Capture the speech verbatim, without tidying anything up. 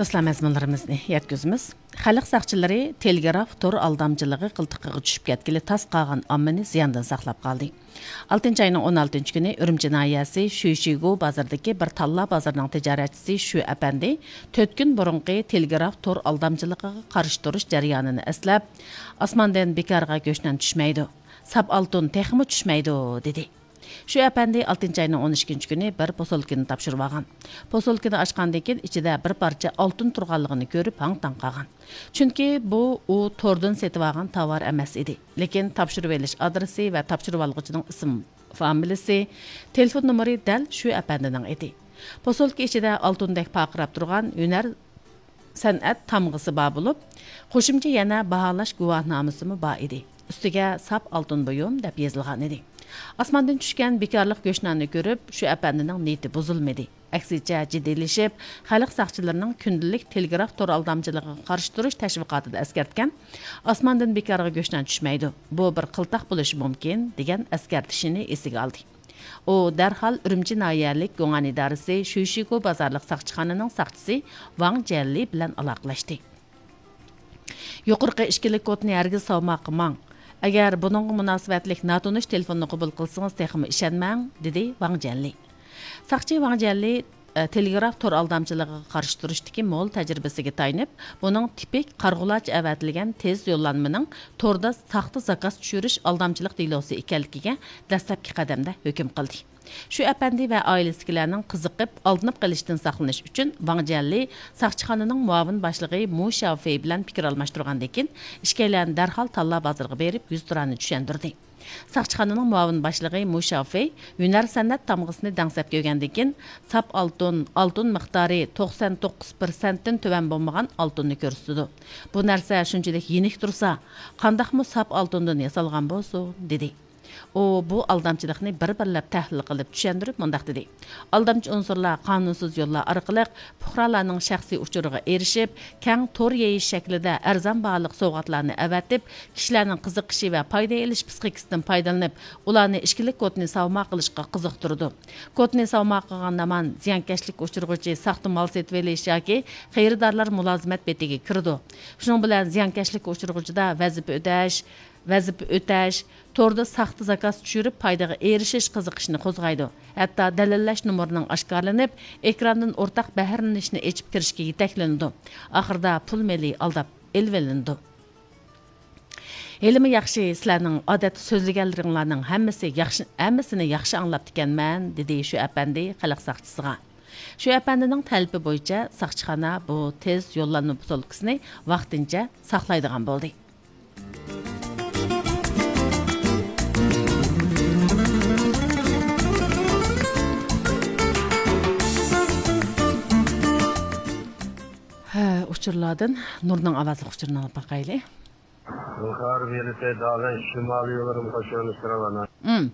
دوستلار، مەزمۇنلىرىمىزنى يەتكۈزىمىز. خەلق ساقچىلىرى تېلېگراف تور ئالدامچىلىقى قىلتىقىغا چۈشۈپ كەتكىلى تاس قالغان ئاممىنى زىياندىن ساقلاپ قالدى. ئالتىنچى ئاينىڭ ئون ئالتىنچى كۈنى ئۈرۈمچى ناھىيەسى شۈيشىگۇ بازىرىدىكى بىر تاللا بازىرىنىڭ تىجارەتچىسى شۈ ئەپەندى تۆت كۈن بۇرۇنقى تېلېگراف تور ئالدامچىلىقىغا قارشى تۇرۇش جەريانىنى ئەسلەپ، ئاسماندىن بىكارغا گۆشنان چۈشمەيدۇ، ساپ ئالتۇن تېخىمۇ چۈشمەيدۇ، دېدى. شۇ ئەپەندى ئالتىنچى ئاينىڭ ئون ئىككىنچى كۈنى بىر پوسۇلكىنى تاپشۇرۇۋالغان. پوسۇلكىنى ئاچقاندىن كېيىن، ئىچىدە بىر پارچە ئالتۇن تۇرغانلىقىنى كۆرۈپ، ھاڭ-تاڭ قالغان. چۈنكى بۇ ئۇ توردىن سېتىۋالغان تاۋار ئەمەس ئىدى، لېكىن تاپشۇرۇۋېلىش ئادرېسى ۋە تاپشۇرۇۋالغۇچىنىڭ ئىسىم فامىلىسى، تېلېفون نومۇرى دەل شۇ ئەپەندىنىڭ ئىدى. پوسۇلكا ئىچىدە ئالتۇندەك پارقىراپ تۇرغان ھۈنەر سەنئەت تامغىسى بار بولۇپ، قوشۇمچە يەنە باھالاش گۇۋاھنامىسىمۇ بار ئىدى. ئۈستىگە «ساپ ئالتۇن بۇيۇم» دەپ يېزىلغان ئىدى. ئاسماندىن چۈشكەن بىكارلىق گۆشناننى كۆرۈپ، شۇ ئەپەندىنىڭ نىيىتى بۇزۇلمىدى. ئەكسىچە جىددىيلىشىپ، خەلق ساقچىلىرىنىڭ كۈندىلىك تېلېگراف تور ئالدامچىلىقىغا قارشى تۇرۇش تەشۋىقاتىدا ئەسكەرتكەن «ئاسماندىن بىكارغا گۆشنان چۈشمەيدۇ، بۇ بىر قىلتاق بولۇشى مۇمكىن» دېگەن ئەسكەرتىشىنى ئېسىگە ئالدى. ئۇ دەرھال ئۈرۈمچى ناھىيەلىك گۇڭئەن ئىدارىسى شۈيشىگۇ بازارلىق ساقچىخانىنىڭ ساقچىسى ۋاڭ جيەنلى بىلەن ئالاقىلەشتى. «يۇقىرىقى ئىككىلىك كودنى ھەرگىز سالماققا ماڭ. ئەگەر بۇنىڭغا مۇناسىۋەتلىك ناتونۇش تېلېفوننى قوبۇل قىلسىڭىز، تېخىمۇ ئىشەنمەڭ» دېدى ۋاڭ جيەنلى. ساقچى ۋاڭ جيەنلى، ئە، تېلېگراف تور ئالدامچىلىقىغا قارشى تۇرۇشتىكى مول تەجرىبىسىگە تايىنىپ، بۇنىڭ تىپىك قارىغۇلارچە ئەۋەتىلگەن تېز يوللانمىنىڭ توردا ساختا زاكاز چۈشۈرۈش ئالدامچىلىق دېلوسى ئىكەنلىكىگە دەسلەپكى قەدەمدە ھۆكۈم قىلدى. شۇ ئەپەندى ۋە ئائىلىسىدىكىلەرنىڭ قىزىقىپ، ئالدىنىپ قېلىشتىن ساقلىنىش ئۈچۈن، ۋاڭ جيەنلى ساقچىخانىنىڭ مۇئاۋىن باشلىقى مۇ شياۋفېي بىلەن پىكىر ئالماشتۇرغاندىن كېيىن، ئىككىيلەن دەرھال تاللا بازىرىغا بېرىپ، يۈزتۇرانە چۈشەندۈردى. ساقچىخانىنىڭ مۇئاۋىن باشلىقى مۇ شياۋفېي ھۈنەر سەنئەت تامغىسىنى دەڭسەپ كۆرگەندىن كېيىن، ساپ ئالتۇن، ئالتۇن مىقدارى توقسان توققۇز پىرسەنتتىن تۆۋەن بولمىغان ئالتۇننى كۆرسىتىدۇ. «بۇ نەرسە شۇنچىلىك يېنىك تۇرسا، قانداقمۇ ساپ ئالتۇندىن ياسالغان بولسۇن؟» دېدى. ئۇ بۇ ئالدامچىلىقنى بىر-بىرلەپ تەھلىل قىلىپ چۈشەندۈرۈپ مۇنداق دېدى: «ئالدامچى ئۇنسۇرلار قانۇنسىز يوللار ئارقىلىق پۇقرالارنىڭ شەخسىي ئۇچۇرىغا ئېرىشىپ، كەڭ تور يېيىش شەكلىدە ئەرزان باھالىق سوۋغاتلارنى ئەۋەتىپ، كىشىلەرنىڭ قىزىقىشى ۋە پايدا ئېلىش پىسخىكىسىدىن پايدىلىنىپ، ئۇلارنى ئىچكىلىك كودنى ساۋماق قىلىشقا قىزىقتۇرىدۇ. كودنى ساۋماق قىلغان ھامان زىيانكەشلىككە ئۇچرىغۇچى ساختا مال سېتىۋېلىش ياكى خېرىدارلار مۇلازىمەت بېتىگە كىرىدۇ. شۇنىڭ بىلەن زىيانكەشلىككە ئۇچرىغۇچىدا ۋەزىپە ئۆتەش، ۋەزىپە ئۆتەش، توردا ساختا زاكاز چۈشۈرۈپ پايدىغا ئېرىشىش قىزىقىشىنى قوزغايدۇ. ھەتتا دەلىللەش نومۇرىنىڭ ئاشكارىلىنىپ، ئېكراندىن ئورتاق بەھرىلىنىشنى ئېچىپ كىرىشكە يېتەكلىنىدۇ. ئاخىرىدا پۇل مېلى ئالداپ ئېلىۋېلىنىدۇ. ھېلىمۇ ياخشى، سىلەرنىڭ ئادەتتە سۆزلىگەنلىرىڭلارنىڭ ھەممىسى ياخشى، ھەممىسىنى ياخشى ئاڭلاپتىكەنمەن»، دېدى شۇ ئەپەندى خەلق ساقچىسىغا. شۇ ئەپەندىنىڭ تەلىپى بويىچە ساقچىخانا بۇ تېز يوللانما پوسۇلكىسىنى ۋاقتىنچە ساقلايدىغان بولدى. ھە، ئۇچۇرلاردىن نۇرنىڭ ئاۋازلىق ئۇچۇرىنى ئاڭلاپ باقايلى. Hm.